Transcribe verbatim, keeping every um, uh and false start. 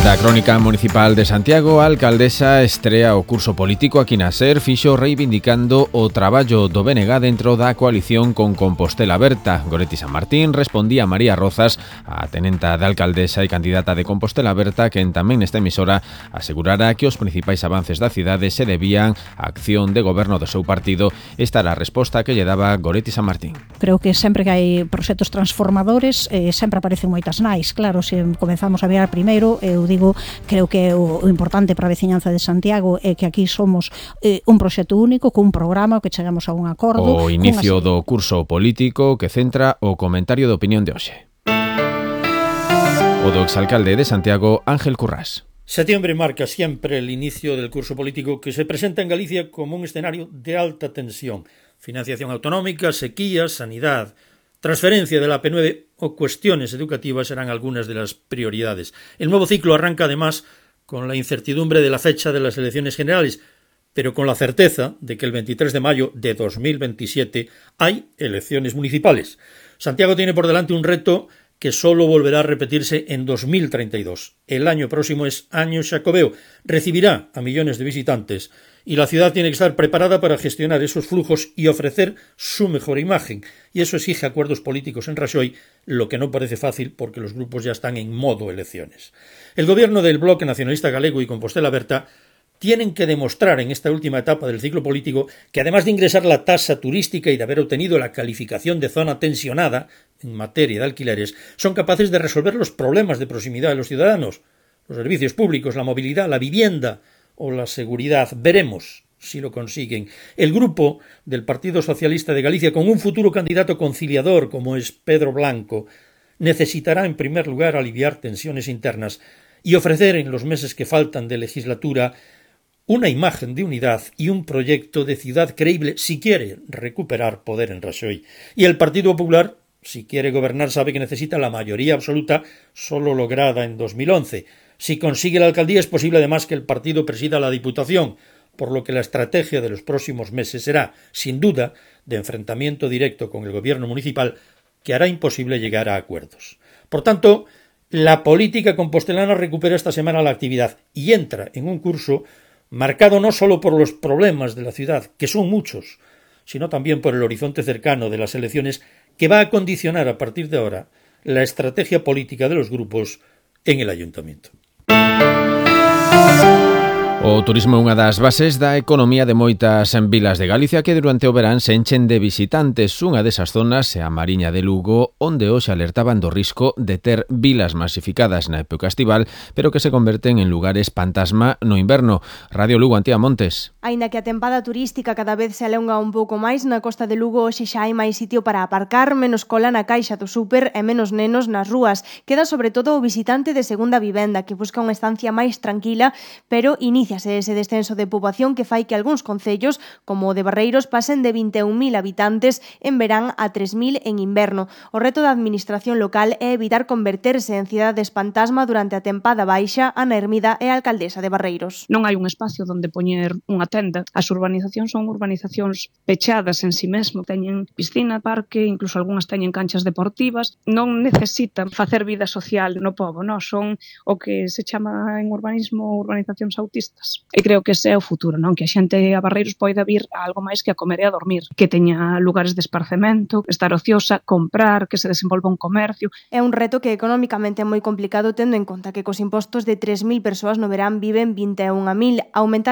Da Crónica Municipal de Santiago, a alcaldesa estrea o curso político aquí na SER fixo reivindicando o traballo do B N G dentro da coalición con Compostela Aberta. Goretti San Martín respondía a María Rozas, a tenenta de alcaldesa e candidata de Compostela Aberta, quen tamén nesta emisora asegurara que os principais avances da cidade se debían á acción de goberno do seu partido. Esta era a resposta que lle daba Goretti San Martín. Creo que sempre que hai proxectos transformadores eh, sempre aparecen moitas nais. Claro, se comenzamos a mirar primeiro, eu digo creo que o, o importante para a veciñanza de Santiago é que aquí somos eh, un proxecto único, cun programa que chegamos a un acordo. O inicio do curso político que centra o comentario de opinión de hoxe. O do exalcalde de Santiago, Ángel Currás. Septiembre marca siempre el inicio del curso político que se presenta en Galicia como un escenario de alta tensión. Financiación autonómica, sequía, sanidad, transferencia de la P nueve o cuestiones educativas serán algunas de las prioridades. El nuevo ciclo arranca además con la incertidumbre de la fecha de las elecciones generales, pero con la certeza de que el veintitrés de mayo de dos mil veintisiete hay elecciones municipales. Santiago tiene por delante un reto que solo volverá a repetirse en dos mil treinta y dos. El año próximo es año Xacobeo, recibirá a millones de visitantes y la ciudad tiene que estar preparada para gestionar esos flujos y ofrecer su mejor imagen. Y eso exige acuerdos políticos en Raxoi, lo que no parece fácil porque los grupos ya están en modo elecciones. El gobierno del Bloque Nacionalista Galego y Compostela Aberta tienen que demostrar en esta última etapa del ciclo político que además de ingresar la tasa turística y de haber obtenido la calificación de zona tensionada en materia de alquileres, son capaces de resolver los problemas de proximidad de los ciudadanos, los servicios públicos, la movilidad, la vivienda o la seguridad. Veremos si lo consiguen. El grupo del Partido Socialista de Galicia, con un futuro candidato conciliador como es Pedro Blanco, necesitará en primer lugar aliviar tensiones internas y ofrecer en los meses que faltan de legislatura una imagen de unidad y un proyecto de ciudad creíble si quiere recuperar poder en Raxoi. Y el Partido Popular, si quiere gobernar, sabe que necesita la mayoría absoluta solo lograda en dos mil once. Si consigue la alcaldía es posible además que el partido presida la Diputación, por lo que la estrategia de los próximos meses será, sin duda, de enfrentamiento directo con el gobierno municipal que hará imposible llegar a acuerdos. Por tanto, la política compostelana recupera esta semana la actividad y entra en un curso marcado no solo por los problemas de la ciudad, que son muchos, sino también por el horizonte cercano de las elecciones que va a condicionar a partir de ahora la estrategia política de los grupos en el ayuntamiento. O turismo é unha das bases da economía de moitas vilas de Galicia que durante o verán se enchen de visitantes. Unha desas zonas é a Mariña de Lugo, onde hoxe alertaban do risco de ter vilas masificadas na época estival, pero que se converten en lugares fantasma no inverno. Radio Lugo, Antía Montes. Aínda que a tempada turística cada vez se alonga un pouco máis, na costa de Lugo hoxe xa hai máis sitio para aparcar, menos cola na caixa do súper e menos nenos nas rúas. Queda sobre todo o visitante de segunda vivenda que busca unha estancia máis tranquila, pero inicia ese descenso de poboación que fai que algúns concellos, como o de Barreiros, pasen de vinte e un mil habitantes en verán a tres mil en inverno. O reto da administración local é evitar converterse en cidades fantasma durante a tempada baixa. Ana Hermida é a alcaldesa de Barreiros. Non hai un espacio onde poñer unha tenda. As urbanizacións son urbanizacións pechadas en si mesmo. Teñen piscina, parque, incluso algunhas teñen canchas deportivas. Non necesitan facer vida social no pobo, non? Son o que se chama en urbanismo urbanizacións autistas. E creo que ese é o futuro, non? Que a xente a Barreiros poida vir a algo máis que a comer e a dormir, que teña lugares de esparcemento, estar ociosa, comprar, que se desenvolva un comercio. É un reto que economicamente é moi complicado tendo en conta que cos impostos de tres mil persoas no verán viven vinte e un mil. Aumentar